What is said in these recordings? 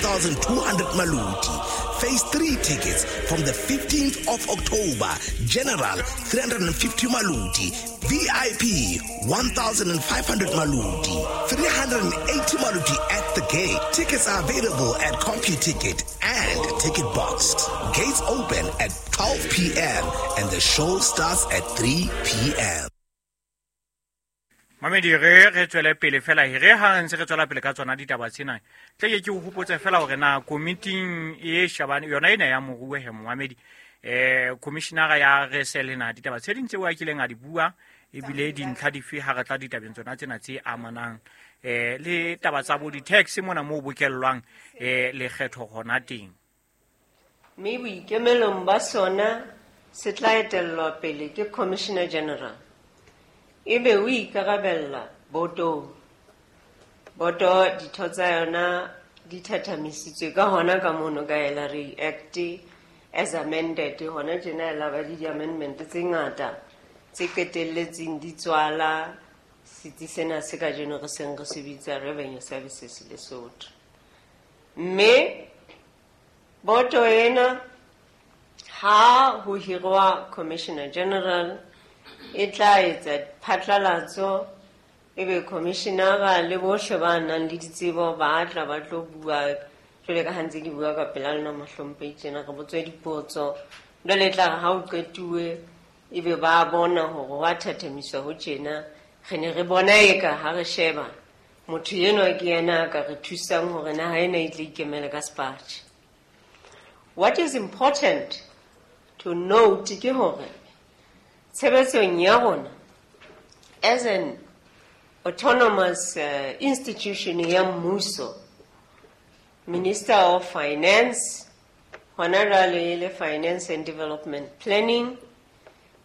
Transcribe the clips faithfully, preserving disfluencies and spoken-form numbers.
thousand two hundred Maluti. Phase three tickets from the fifteenth of October. General three hundred and fifty Maluti. V I P one thousand five hundred Maluti. three hundred and eighty Maluti at the gate. Tickets are available at CompuTicket and Ticket Box. Gates open at twelve P M and the show starts at three P M. Mamedi, re re tswele pele fela, re ha re ntse re tswela pele ka tsona ditaba tsena. Tle ke ke o hopotse fela hore na komiting e shabane yona ena ya moruo he Mohamedi, eh, commissioner ya R S L na ditaba tse ding tseo a kileng a di bua, ebile dintlha dife ha re tla ditabeng tsona tsena tse amanang, eh, le taba tsa bo di-tax mona moo bokellwang, eh, lekgetho hona teng. Mme boikemelong ba sona se tla etellwa pele ke Commissioner General. Ebe o ikarabella botong. Boto ditho tsa yona di thathamisitswe ka hona ka mono ka L R A Act as amended. Hona tjena e la ba le di-amendment tse ngata tse qetelletseng di tswala setsi sena se kajeno re seng re se bitsa Revenue Services Lesotho. Mme boto ena ha ho hirwa Commissioner General e tla etsa phatlalatso, ebe commissionera le bohle ba nang le ditsebo ba tla ba tlo bua. Jwale ka ha ntse ke bua ka pela lona mohlomphehi tjena, re botswe dipotso. Jwale e tla re ha o qetuwe, ebe ba bona hore wa thathamiswa ho tjena. Re ne re bona eka ha re sheba motho enwa ke yena a ka re thusang hore naha ena e tle ikemele ka sepatjhe. What is important to note ke hore tshebetsong ya rona as an autonomous, uh, institution ya mmuso, Minister of Finance, hona jwale e le Finance and Development Planning,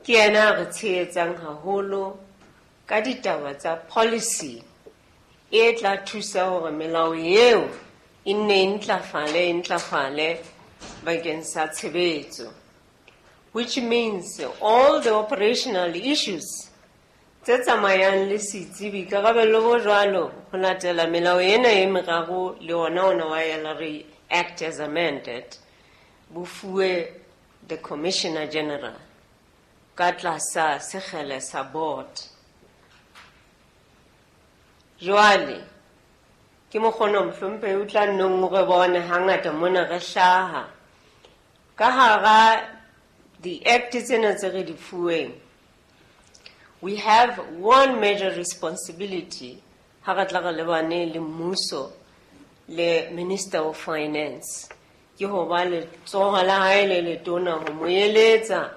ke yena a re tshehetsang haholo ka ditaba tsa policy e tla thusa hore melao eo e nne e ntlafale, e ntlafale bakeng sa tshebetso, which means all the operational issues tse tsamayang le setsi, boikarabello bo jwalo ho latela melao ena e meraro le ona ona wa L R A Act as amended, bo fuwe the Commissioner General ka tlasa sekgele sa board. Jwale ke mokgono mohlomphehi o tla nnong o re bone hangata mona re hlaha ka hara di-act tsena tse re di fuweng. We have one major responsibility ha re tla re lebane le mmuso le Minister of Finance, ke ho ba letsoho la hae le letona ho mo eletsa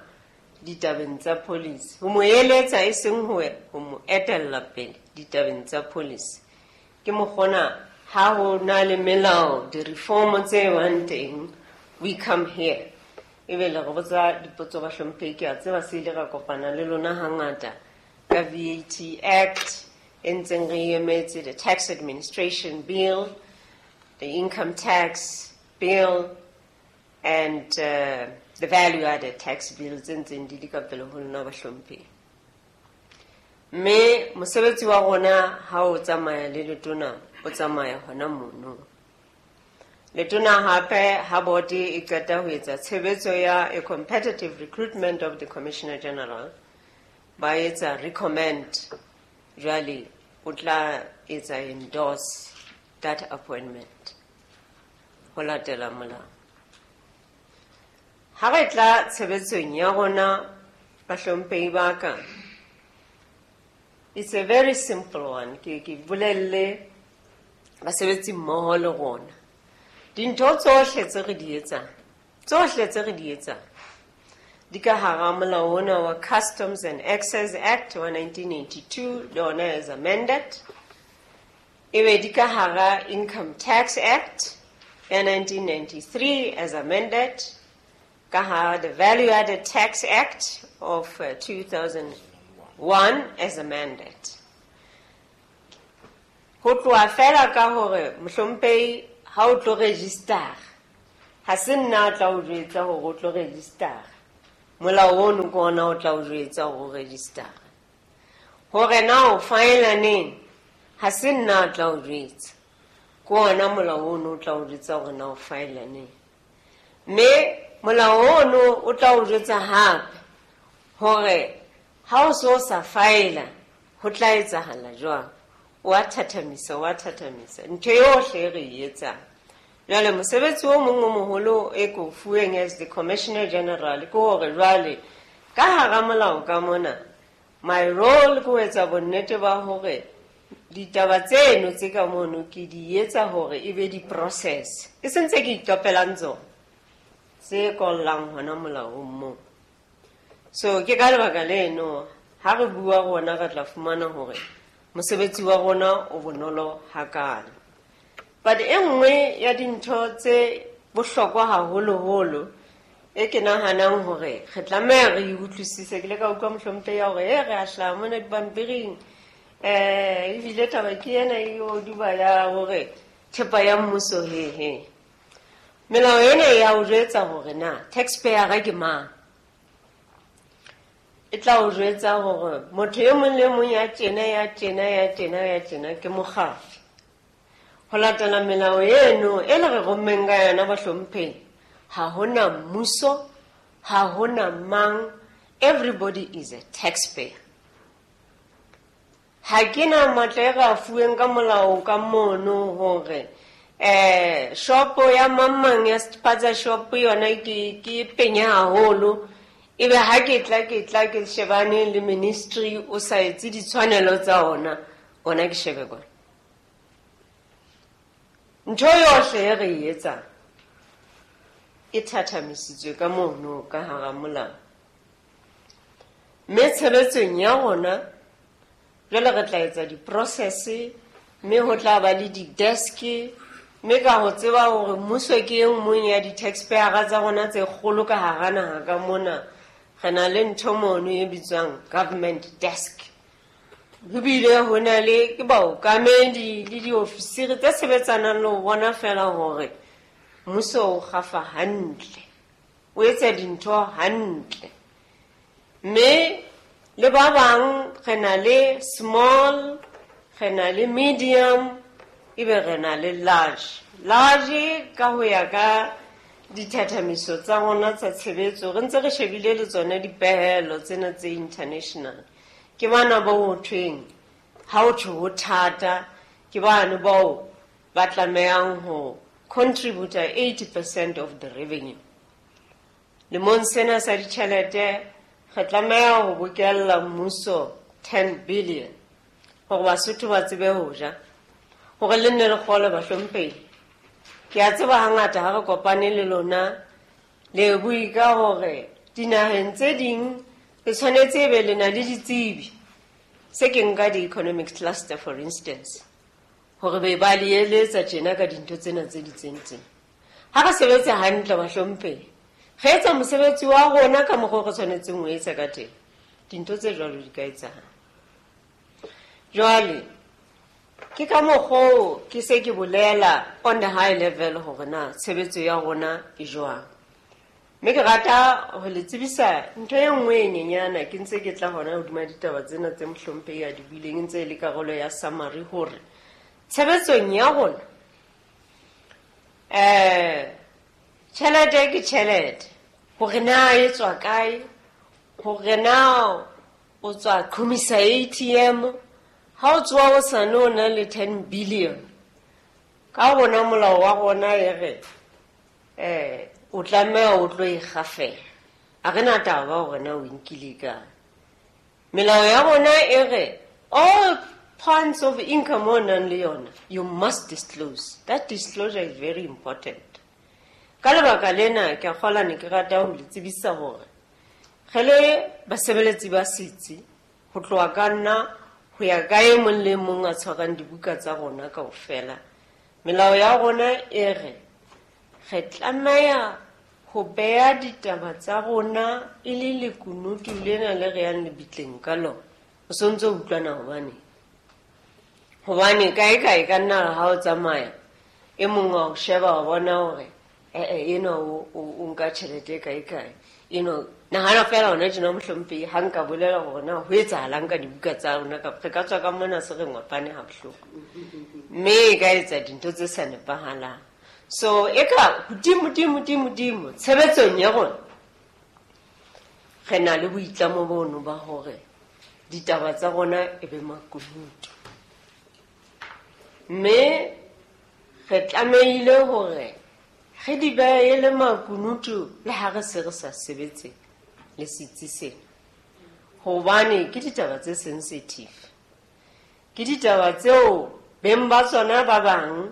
ditabeng tsa policy, ho mo eletsa e seng ho, ho mo etella pele ditabeng tsa policy. Ke mokgona ha ho na le melao, di-reform tse bang teng, we come here. Ebe le re botsa dipotso ba hlomphehi, ke a tseba se ile ra kopana le lona hangata ka V A T Act e ntseng re emetse, the Tax Administration Bill, the Income Tax Bill, and, uh, the Value Added Tax Bill tse ntseng di le ka pele ho lona ba hlomphehi. Mme mosebetsi wa rona ha o tsamaya le letona, o tsamaya hona mono. Letona hape ha board e qeta ho etsa tshebetso ya a competitive recruitment of the Commissioner General, ba etsa recommend, jwale o tla etsa endorse that appointment ho latela molao. Ha re tla tshebetsong ya rona bahlomphehi ba ka, it's a very simple one. Ke, ke bolelle basebetsi mmoho le rona. Dintho tsohle tse re di etsang, tsohle tse re di etsang, di ka hara molao ona wa Customs and Excise Act wa nineteen eighty-two, le ona as amended. Ebe di ka hara Income Tax Act ya nineteen ninety-three as amended, ka hara the Value Added Tax Act of, uh, two thousand one as amended. Ho tloha fela ka hore mohlomphehi ha o tlo register, ha se nna a tla o jwetsa hore o tlo register. Molao ono ke ona o tla o jwetsa hore o register. Hore na o file neng, ha se nna a tla o jwetsa. Ke ona molao ono o tla o jwetsa hore na o faela neng. Mme molao ono o tla o jwetsa hape hore ha o so sa faela ho tla etsahala jwang. O a thathamisa, o a thathamisa. Ntho yohle e re e etsang. Jwale mosebetsi o mong o moholo e ko fuweng as the Commissioner General ke hore jwale ka hara molao ka mona, my role ke ho etsa bonnete ba hore ditaba tseno tse ka mono ke di etsa hore e be di-process. E sentse ke itopelang tsona tse kollang hona molaong moo. So ke ka lebaka leno ha re bua rona re tla fumana hore mosebetsi wa rona o bonolo hakalo. But e nngwe ya dintho tse bohlokwa haholoholo e ke nahanang hore re tlameha re e utlwisise, ke ile ka utlwa mohlomphehi ya hore e re a hlaha mona dipampiring, eh ebile taba ke ena e o duba ya hore thepa ya mmuso he he. Melao ena ya o jwetsa hore na taxpayer ke mang. E tla o jwetsa hore motho e mong le mong ya tjena ya tjena ya tjena ya tjena ke mokgafi. Ho latela melao eno e le re rommeng ka yona bahlomphehi, ha hona mmuso, ha hona mang, everybody is a taxpayer. Ha ke na matla e re a fuweng ka molao ka mono hore eh shopo ya mang mang ya spaza shop yona ke ke penya haholo, ebe ha ke tla ke tla ke shebane le ministry o sa etse ditshwanelo tsa ona, ona ke shebe kwana. Ntho yohle e re e etsang e thathamisitswe ka mono ka hara molao. Mme tshebetsong ya rona jwale re tla etsa di-process, mme ho tla ba le di-desk, mme ka ho tseba hore mmuso ke e nngwe ya di-taxpayer tsa rona tse kgolo ka hara naha ka mona, re na le ntho mono e bitswang government desk. Ho bile ho na le ke baokamedi le diofisiri tse sebetsanang le ho bona fela hore mmuso o kgafa hantle, o etsa dintho hantle. Mme le ba bang re na le small, re na le medium, ebe re na le large. Large ka ho ya ka dithathamiso tsa rona tsa tshebetso, re ntse re shebile le tsona dipehelo tsena tse international. Ke bana ba ho thweng ha ho thwe ho thata, ke bana bao ba tlamehang ho contribute eighty percent of the revenue. Lemong sena sa ditjhelete re tlameha ho bokella mmuso ten billion hore Basotho ba tsebe ho ja, hore le nne le kgole bahlomphehi. Ke a tseba hangata ha re kopane le lona le bue ka hore dinaheng tse ding le tshwanetse e be le na le ditsebi. Se ke nka di-economic cluster for instance, hore be ba le eletsa tjena ka dintho tsena tse di tsentseng. Ha re sebetse hantle bahlomphehi, re etsa mosebetsi wa rona ka mokgwa o re tshwanetseng ho etsa ka teng, dintho tse jwalo di ka etsahala. Jwale ke ka mokgwa oo ke se ke bolela on the high level hore na tshebetso ya rona e jwang. Mme ke rata ho le tsebisa ntho e nngwe e nyenyana, ke ntse ke tla hona hodima ditaba tsena tse mohlomphehi a di buileng, e ntse e le karolo ya summary hore tshebetsong ya rona eh tjhelete ke tjhelete, hore na e tswa kae, hore na o tswa qhomisa A T M, ha o tswa o sa no na le ten billion. Ka bona molao wa rona e re eh o tlameha o tlo e kgafela. Ha re na taba hore na o nkile kae. Melao ya rona e re all points of income o nang le yona, you must disclose. That disclosure is very important. Ka lebaka lena ke a kgolwa ne ke rata ho le tsebisa hore re le basebeletsi ba setsi, ho tloha ka nna ho ya ka e mong le mong a tshwarang dibuka tsa rona kaofela, melao ya rona e re re tlameha ho beha ditaba tsa rona e le lekunutu lena le re yang lebitleng ka lona. O sontso o utlwana hobane hobane kae kae ka nna ha o tsamaya e mong wa o sheba wa bona hore eh eh ena o o nka tjhelete kae kae, You know, nahana fela hona tjena mohlomphehi ha nka bolela hore na ho etsahalang ka dibuka tsa rona kapa re ka tswa ka mona se re ngwapane ha bohloko. Mme e ka etsa dintho tse sa nepahalang. So e ka hodimo dimo dimo dimo tshebetsong ya rona re na le boitlamo bono ba hore ditaba tsa rona e be makunutu. Mme re tlamehile hore re di behe le makunutu le ha re se re sa sebetse le setsi sena. Hobane ke ditaba tse sensitive. Ke ditaba tseo beng ba tsona ba bang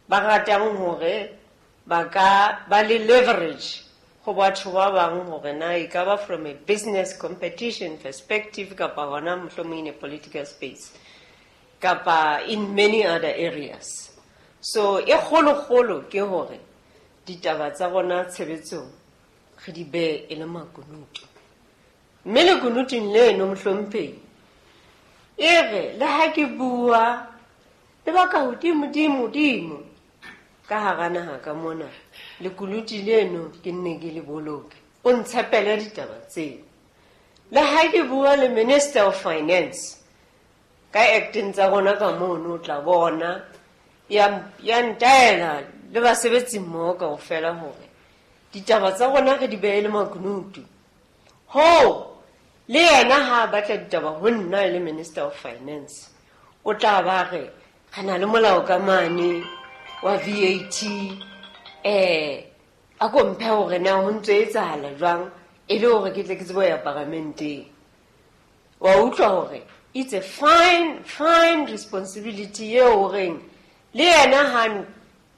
ba ratang hore ba ka ba le leverage ho batho ba bang hore na e ka ba from a business competition perspective kapa hona mohlomong in a political space kapa in many other areas. So e kgolo-kgolo ke hore ditaba tsa rona tshebetsong re di behe e le makunutu. Mme lekunutung leno mohlomphehi e re le ha ke bua le ba ka hodimo-dimo-dimo ka hara naha ka mona lekunutu leno ke nne ke le boloke, o ntshepele ditaba tseo. Le ha ke bua le Minister of Finance ka acting tsa rona ka mono o tla bona ya ya ntaela le basebetsi mmoho kaofela hore ditaba tsa rona re di behe le makunutu. Ho le yena ha a batla ditaba ho nna e le Minister of Finance o tla ba re re na le molao ka mane wa V A T, eh a ko mphe hore na ho ntso etsahala jwang e le hore ke tle ke tsebe ho ya paramenteng. Wa utlwa hore it's a fine fine responsibility eo horeng le yena ha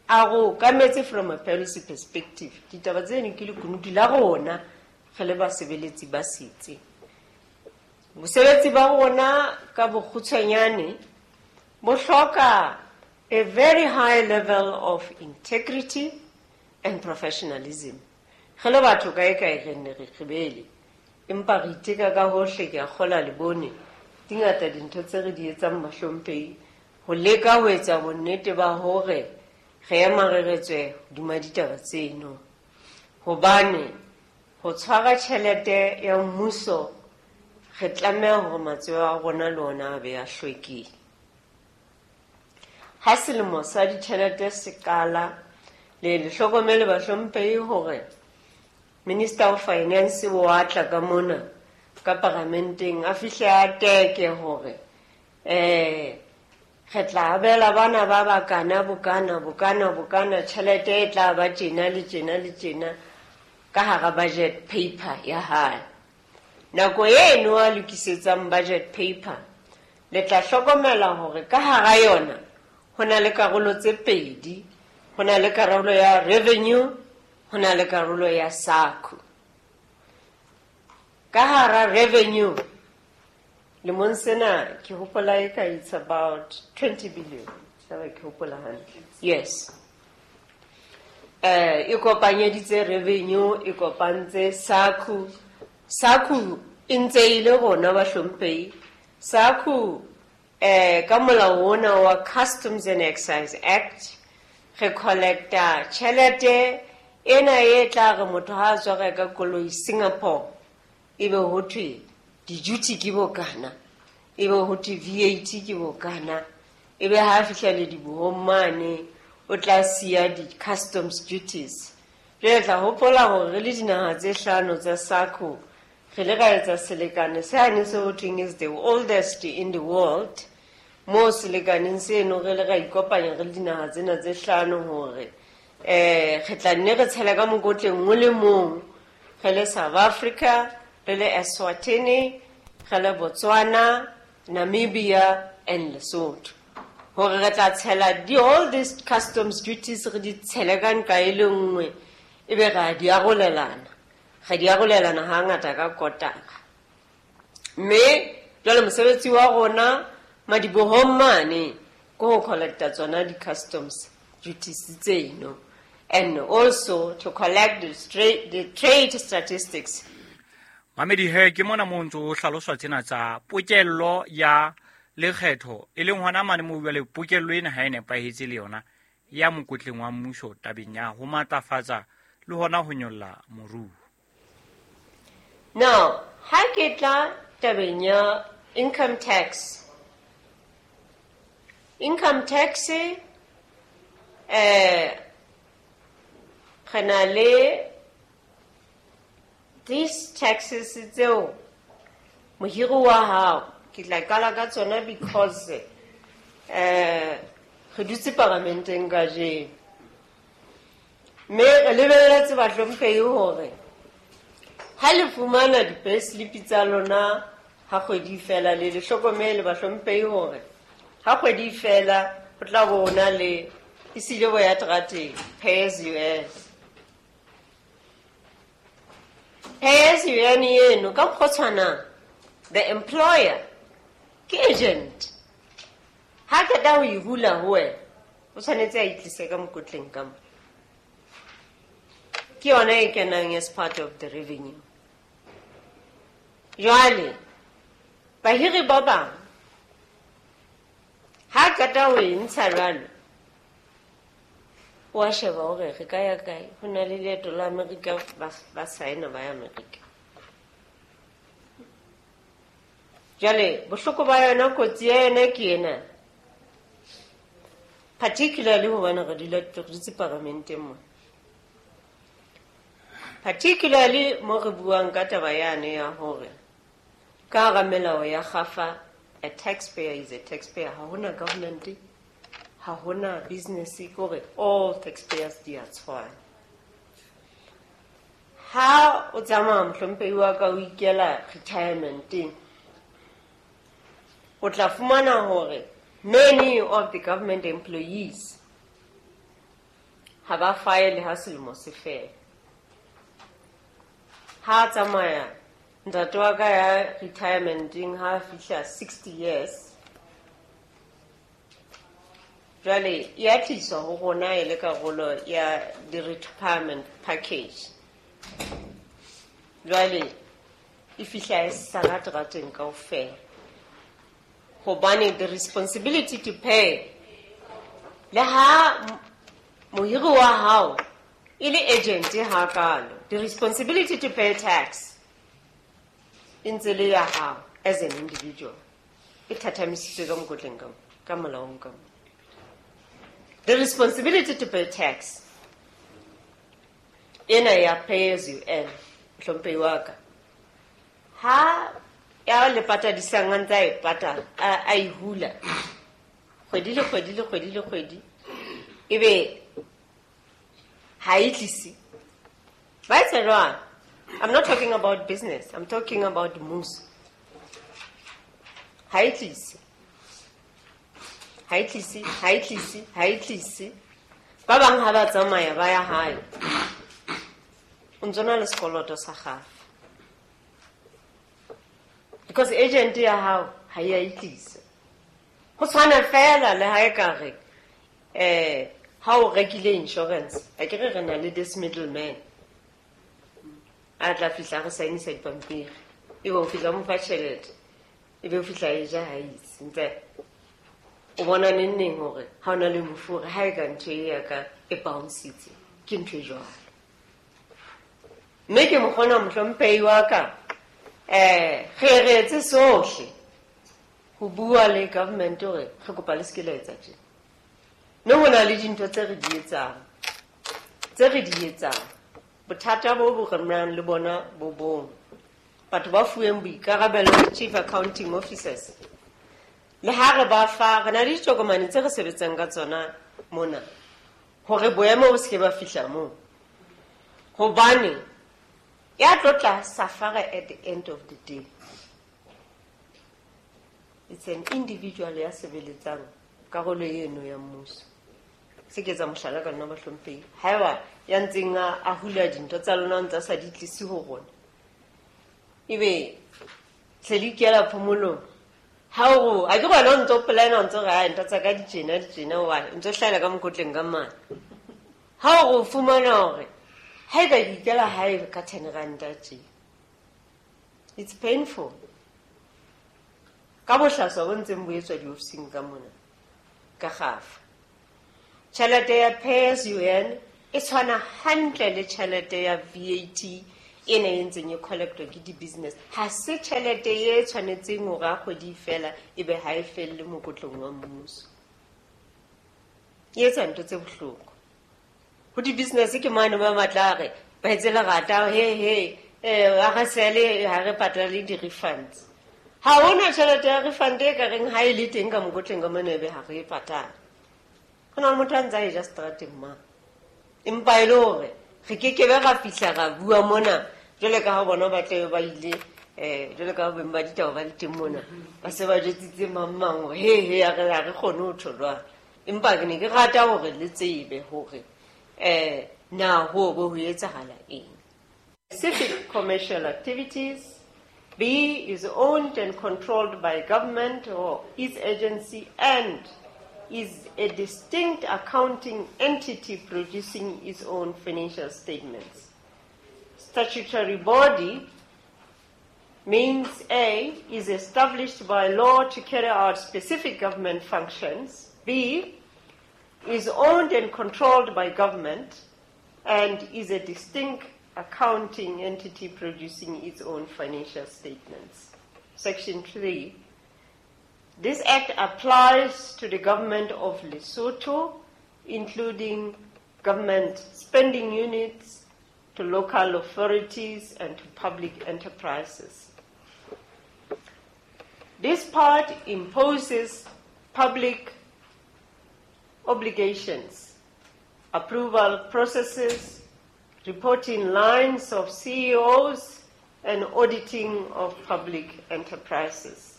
a go kametse from a policy perspective. Ditaba tseno ke lekunutu la rona re le basebeletsi ba setsi. Bosebetsi ba rona ka bokgutshwanyane bo hloka a very high level of integrity and professionalism. Re le batho kae kae re nne re kgibele, empa re iteka ka hohle. Ke a kgola le bone di ngata dintho tse re di etsang mahlomphehi ho leka ho etsa bonnete ba hore re ema re re tswe hodima ditaba tseno. Hobane ho tshwara tjhelete ya mmuso re tlameha hore matsoho a rona le ona a be a hlwekile. Ha selemo sa ditjhelete se qala, le le hlokomele bahlomphehi hore Minister of Finance o a tla ka mona ka paramenteng a fihle a teke hore eh re tla abela bana ba bakana bokana bokana bokana tjhelete e tla ba tjena le tjena le tjena ka hara budget paper ya hae. Nako eno a lokisetsang budget paper le tla hlokomela hore ka hara yona ho na le karolo tse pedi, ho na le karolo ya revenue, ho na le karolo ya SACU. Ka hara revenue lemong sena ke hopola e ka it's about twenty billion. Taba ke hopola hantle. Yes. Eh e kopanyeditse revenue, e kopantse SACU. SACU e ntse e le rona bahlomphehi. SACU eh ka molao ona wa Customs and Excise Act re collecta tjhelete ena e tla re motho ha a tswa reka koloi Singapore ebe ho thwe di-duty ke bokana, ebe ho thwe V A T ke bokana, ebe ha fihla le dibohong mane o tla siya di-customs duties. Jwale tla hopola hore re le dinaha tse hlano tsa SACU re le ra etsa selekane sane se ho thweng is the oldest in the world. Mo selekaneng seno re le ra ikopanya re le dinaha tsena tse hlano hore eh re tla nne re tshela ka mokotleng o le mong, re le South Africa, re le Eswatini, re le Botswana, Namibia and Lesotho. Hore re tla tshela di all these customs duties re di tshele ka nqa e le nngwe, ebe re a di arolelana. Re di arolelana hangata ka kotara. Mme jwale mosebetsi wa rona madibohong mane ke ho collecta tsona di-customs duties tseno, and also to collect the, stra-, the trade statistics. Mamedi he ke mona mo ntso o hlaloswa tsena tsa pokello ya lekgetho e leng hona mane mo jwale pokello ena ha e nepahetse le yona ya mokotleng wa mmuso tabeng ya ho matlafatsa le hona ho nyolla moruo. Now, ha ke tla tabeng ya income tax. Income tax eh re na le these taxes tseo mohiri wa hao ke tla qala ka tsona because eh re dutse paramenteng kajeno mme re lebelletse bahlomphehi hore ha le fumana di-payslip tsa lona ha kgwedi fela le le hlokomele bahlomphehi hore ha kgwedi fela ho tla bo na le esile bo ya terateng pay as you earn. Pay as you earn eno ka mokgwa o tshwanang the employer ke agent ha qeta ho e hula ho wena o tshwanetse a itlise ka mokotleng ka mo ke yona e kenang as part of the revenue. Jwale bahiri ba bang ha qeta ho e ntsha jwalo wa sheba hore re ka ya kae ho na le leeto la Amerika ba saena ba ya Amerika. Jwale bohloko ba yona kotsi ya yona ke ena particularly hobane re dula re dutse paramenteng mo particularly mo re buang ka taba yane ya hore ka hara melao ya kgafa a taxpayer is a taxpayer ha hona government ha hona business kore all taxpayers di a tshwana. Ha o tsamaya mohlomphehi wa ka o ikela retirementeng o tla fumana hore many of the government employees ha ba file ha selemo se fela. Ha tsamaya ntate wa ka ya retirementeng ha fihla sixty years jwale ya tliswa ho rona e le karolo ya the retirement package. Jwale e fihla e sala terateng kaofela hobane the responsibility to pay le ha mohiri wa hao e le agent hakalo the responsibility to pay tax e ntse le ya hao as an individual e thathamisitswe ka mokotleng ka ka molaong ka mo. The responsibility to pay tax ena ya pay as you earn hlomphehi wa ka ha ya le patadisang a ntse a e patala a e hula kgwedi le kgwedi le kgwedi le kgwedi ebe ha e tlise ba etsa jwang. I'm not talking about business, I'm talking about mmuso. Ha e tlise ha e tlise ha e tlise ha e tlise ba bang ha ba tsamaya ba ya hae o ntso na le sekoloto sa gago because agent ya hao ha e a itlisa. Ho tshwana fela le ha e ka re eh ha o rekile insurance a ke re re na le this middleman a tla fihla re saenisa dipampiri ebe o fihla mo fa tjhelete ebe o fihla e ja ha itse ntse o bona neng neng hore ha ona le mofu hore ha e ka ntho e ya ka e bouncitse ke ntho e jwalo. Mme ke mokgona mohlomphehi wa ka eh re re etse sohle ho bua le government hore re kopa le se ke la etsa tjena. Mme ho na le dintho tse re di etsang tse re di etsang bothata bo bo re nang le bona bo bong batho ba fuweng boikarabelo chief accounting officers le ha re ba fa re na le ditokomane tse re sebetsang ka tsona mona hore boemo bo se ke ba fihla moo hobane ya tlo tla safara at the end of the day it's an individual ya sebeletsang karolo eno ya mmuso. Se ke etsa mohlala ka nna bahlomphehi haeba ya ntseng a hula dintho tsa lona ntse a sa di tlise ho rona ebe tle le ikela phomolong ha o a ke bona o ntso plan o ntso re ntho tsa ka di tjena di tjena wa ntso hlahela ka mokotleng ka mane ha o fumana hore ha e ka ikela hae ka ten rand tje it's painful ka bohlaswa bo ntseng bo etswa diofising ka mona ka gafa. Tjhelete ya pay as you earn e tshwana hantle le tjhelete ya V A T, ena e ntseng e collectwa ke di-business ha se tjhelete e tshwanetseng hore ha kgwedi e fela ebe ha e felle mokotleng wa mmuso. E etsa ntho tse bohloko. Ho di-business ke mane ba matla a re ba etse lerata, he he, eh ha re sele ha re patale di-refunds. Ha hona tjhelete ya refund e ka reng ha e le teng ka mokotleng ka mona ebe ha re e patale. Ho na le motho a ntse a e ja seterateng mane. Empa e le hore re kekebe ra fihla ra bua mona jwale ka ha bona ba tlabe ba ile eh jwale ka ha beng ba ditaba ba le teng mona ba se ba jwetsitse mang mang hore he he ha re ha re kgone ho tjho jwalo. Empa ke ne ke rata hore le tsebe hore eh na ho bo ho etsahala eng. Specific commercial activities. B is owned and controlled by government or its agency and is a distinct accounting entity producing its own financial statements. Statutory body means A is established by law to carry out specific government functions. B is owned and controlled by government and is a distinct accounting entity producing its own financial statements. Section three. This act applies to the government of Lesotho, including government spending units, to local authorities, and to public enterprises. This part imposes public obligations, approval processes, reporting lines of C E Os, and auditing of public enterprises.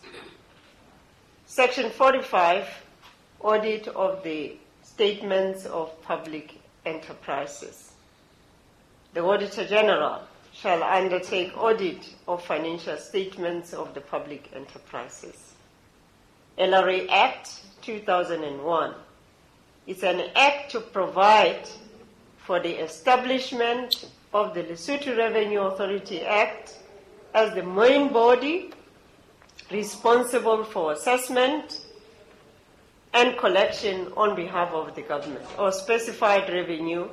Section forty-five, audit of the statements of public enterprises. The Auditor General shall undertake audit of financial statements of the public enterprises. L R A Act two thousand one is an act to provide for the establishment of the Lesotho Revenue Authority Act as the main body responsible for assessment and collection on behalf of the government or specified revenue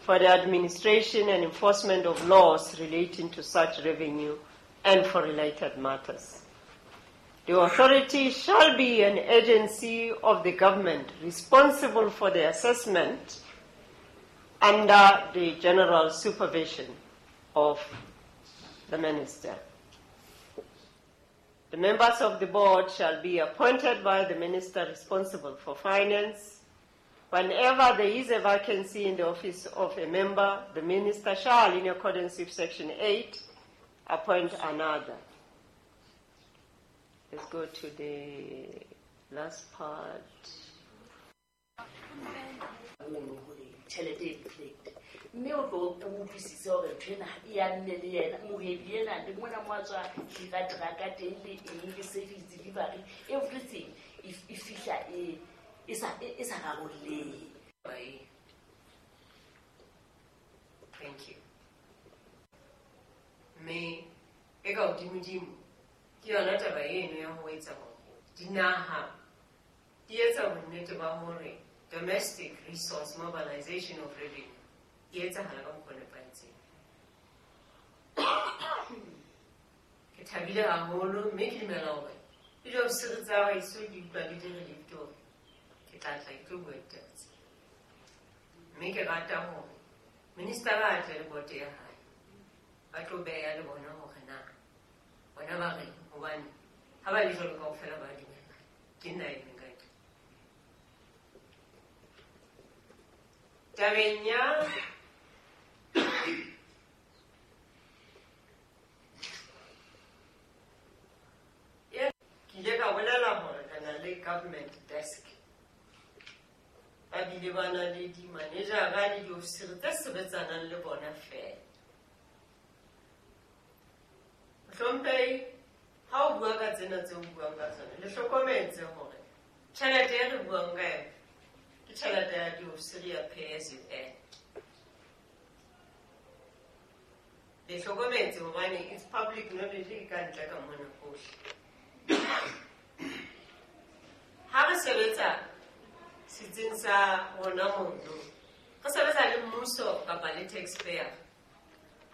for the administration and enforcement of laws relating to such revenue and for related matters. The authority shall be an agency of the government responsible for the assessment under the general supervision of the minister. The members of the board shall be appointed by the minister responsible for finance. Whenever there is a vacancy in the office of a member, the minister shall, in accordance with Section eight, appoint another. Let's go to the last part. Tjhelete e reflect mme o tlo o utlwisise hore ntho ena e ya nne le yena mohwebi ena le mona mo a tswa hira truck teng le eng le service delivery everything e fihla e e sa e sa rarollehe. Thank you. Mme e ka hodimodimo ke yona taba eno ya ho etsa hore dinaha di etsa bonnete ba hore domestic resource mobilization of revenue e etsahala ka mokgwa o nepahetseng. Ke thabile haholo mme ke dumela hore le diofisiri tsa heso di utlwa le di relief hore ke tla tla ke tlo bua ditaba tsena. Mme ke rata hore minister-a a tle le boto ya hae ba tlo beha le bona hore na bona ba reng, hobane ha ba le jwalo kaofela ba dumela ke nna e meng ka ntle. Tabeng ya ke ile ka bolela hore re na le government desk, ba bile ba na le di-manager-a le diofisiri tse sebetsanang le bona feela. Mohlomphehi, ha o bua ka tsena tse o buang ka tsona, le hlokometse hore tjhelete e re buang ka yona ke tjhelete ya diofisiri ya pay as you earn. Le hlokometse hobane it's public knowledge e ka ntle ka mona hohle. Ha re sebetsa setsing sa rona mono, re sebetsa le mmuso kapa le taxpayer.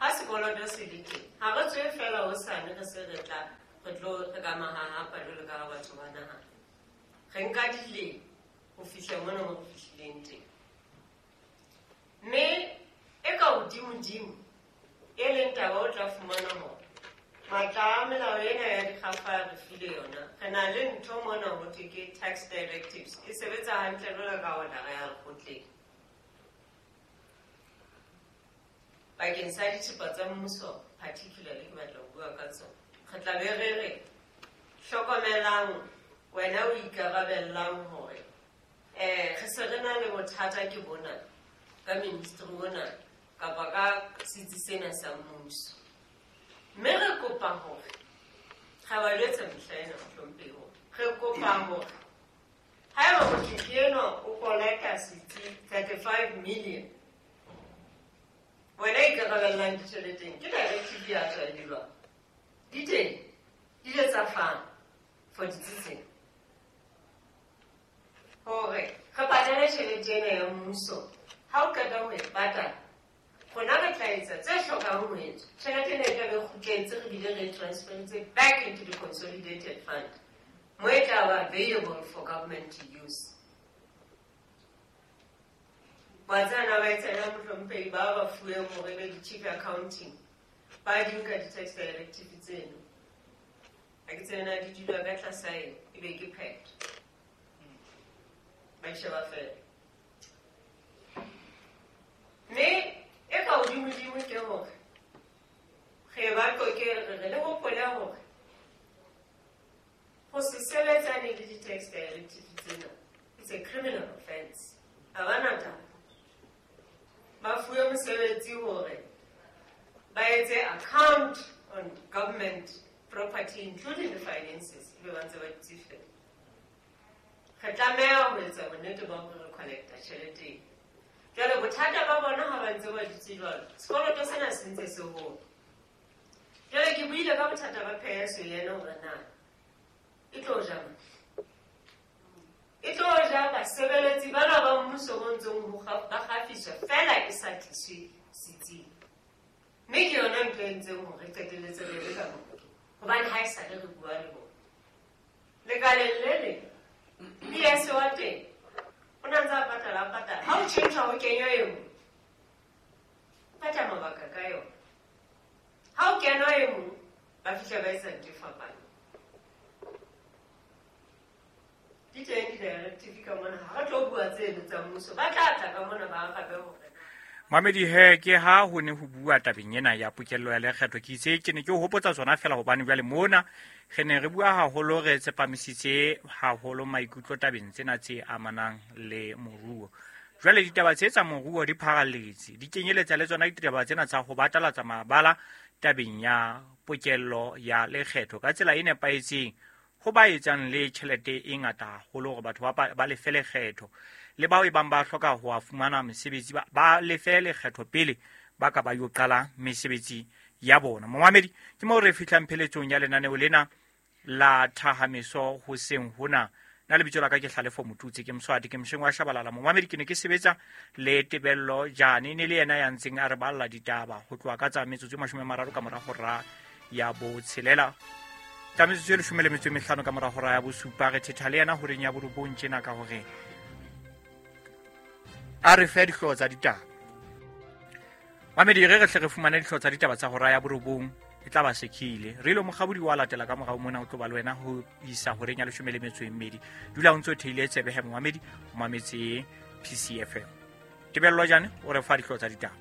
Ha sekoloto se le teng, ha re tswe fela hosane re se re tla re tlo re ka mahahapa jwalo ka ha batho ba nahana. Re nka dilemo ho fihla mona mo re fihlileng teng. Mme e ka hodimodimo e leng taba o tla fumana hore matla a melao ena ya dikgafa re file yona. Re na le ntho mona ho thwe ke tax directives, e sebetsa hantle jwalo ka order ya lekgotleng. Bakeng sa dithepa tsa mmuso particularly ke batla ho bua ka tsona. Re tla be re re hlokomelang wena o ikarabellang hore eh re se re na le bothata ke bona ka ministry ona kapa ka setsi sena sa mmuso. Mme re kopa hore ga ba jwetsa mehla ena mohlomphehi hore re kopa hore haeba motho enwa o kolota setsi thirty-five million, wena ikarabellang ditjheleteng ke directive ya tswa di jwang? Di teng, di ile tsa fana for ditsi tsena hore re patale tjhelete ena ya mmuso. Ha o qeta ho e patala, rona re tla etsa tse hlokang ho etswa. Tjhelete ena e tla be kgutletse, re bile re e transferetse back into the consolidated fund mo e tla ba available for government to use. Batsana ba etsana mohlomphehi ba ba fuweng hore be di-chief accounting ba di nka di-tax directive tseno. Ha ke tsena di dula ka tlasa eng, e be ke phetho. Ba di sheba fela. Mme e ka hodimodimo ke hore re ba qoke re re le hopole hore ho se sebetsane le di-tax directive tsena it's a criminal offense. Ha ba na taba. Ba fuwe mosebetsi hore ba etse account on government property including the finances, ebe ba ntse ba dutse fela. Re tlameha ho etsa bonnete ba hore re collecta tjhelete ena. Jwale bothata ba bona ha ba ntse ba dutse jwalo, sekoloto sena se ntse se hola. Jwale ke buile ka bothata ba pheso ena hore na e tlo ja mang? E tlo ja basebeletsi bana ba mmuso bo ntseng ho ba kgafiswa fela e sa tliswe setsing. Mme ke yona ntho e ntseng hore re qetelletse re le ka moo, hobane ha e sa le re bua le bona. Lekaleng le leng, P S wa teng o na ntse a patala a patala. Ha o tjhentjha ho kenywa e nngwe, o batla mabaka ka yona. Ha o kenwa e nngwe, ba fihla ba etsa ntho e fapaneng. Di teng di-directive ka mona, ha re tlo bua tseno tsa mmuso, ba tla tla ka mona ba arabe hore Mamedi he ke ha ho ne ho bua tabeng ena ya pokello ya lekgetho. Ke itse ke ne ke o hopotsa tsona fela hobane jwale mona re ne re bua haholo, re tsepamisitse haholo maikutlo tabeng tsena tse amanang le moruo. Jwale ditaba tse tsa moruo di pharalletse, di kenyeletsa le tsona ditaba tsena tsa ho batalatsa mabala tabeng ya pokello ya lekgetho ka tsela e nepahetseng ho ba etsang le tjhelete e ngata haholo hore batho ba ba lefe lekgetho, le bao e bang ba hloka ho a fumana mesebetsi ba, ba lefe lekgetho pele ba ka ba yo qala mesebetsi ya bona. Momamedi, ke moo re fihlang pheletsong ya lenaneo lena la Thahameso hoseng hona. Nna lebitso la ka ke Hlalefo Motutsi, ke Mswati, ke Msheng wa Shabalala. Momamedi, ke ne ke sebetsa le Tebello Jane, ne le yena ya ntseng a re balla ditaba ho tloha ka tsa metsotso e mashome a mararo ka mora hora ya botshelela. Ka metsotso e leshome le metso e mehlano ka mora hora ya bosupa, re thetha le yena horeng ya borobong tjena ka hore a re fe dihlooho tsa ditaba. Mamedi, re re hle re fumane dihlooho tsa ditaba tsa hora ya borobong, e tla ba sekhile. Re ilo mokgabodi wa latela ka morao mona o tlo ba le wena ho isa horeng ya leshome le metso e mmedi. Dula o ntso theile tsebe he momamedi, o mametse P C F M. Tebello Jane o re fa dihlooho tsa ditaba.